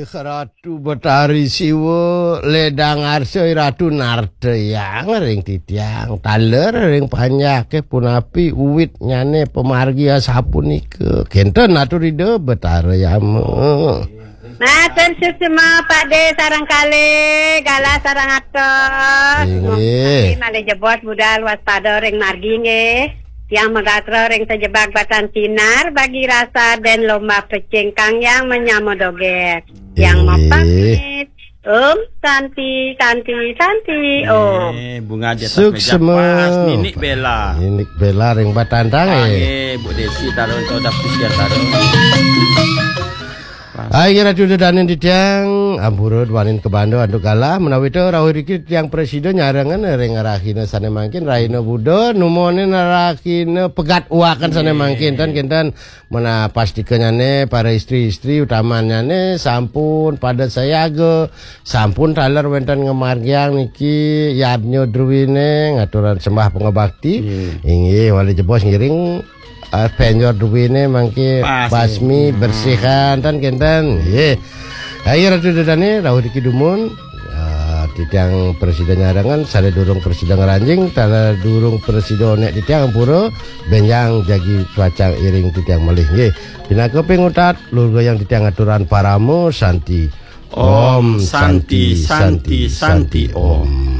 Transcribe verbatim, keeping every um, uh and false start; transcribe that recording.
Ratu Betari Siwa, ledang arsa Ratu Nartayang ring titiang, taler ring panjaké punapi uwitnyané pamargi asapunika. Kénten atur Ida Betara Yama. Matur suksma Pakdé sareng kalih, galah sareng atos. Inggih. Malih jebos budal waspada ring margi nggih. Tiang magatra ring sajebag batan sinar, bagi rasa den lomba pecing kang yang menyama dogét. Yang Inggih. Mapamit. Om Santi, Santi, Santi, Om. Eh, bunga di atas meja Suksma. Pas, Ninik Bella. Ninik Bella ring batantang, eh. Nggih, Bu Desi taruh, atau dapur siar taruh. Ayo, Ratu Dedanin titiang, ampura duaning kabanda antuk galah, menawi to rauh riki tiang presida nyarengan ring rahina sané mangkin, rahina Buda, numonin rahina pegat uakan sané Nggih. Mangkin, tan kinten menapastikanyane para istri-istri utamannyane sampun pada sayaga, sampun taler wenten ngamargiang niki yadnya druwine ngaturan sembah pangabakti. Nggih. Inggih, wali jebos ngiring eh, penjor duwine mangke Pas, basmi nggih. Bersihan tan kenten. Nggih. Ayo Ratu Dedane rauh diki dumun. Ah, titiang presida nyarengan, sare durung presida ngranjing, sare durung presida nek titiang ampura, benjang jagi suacang iring titiang malih. Nggih. Pinaka pingutat, luhur gayang titiang aturan parama santi. Om Santi, Santi, Santi, Om.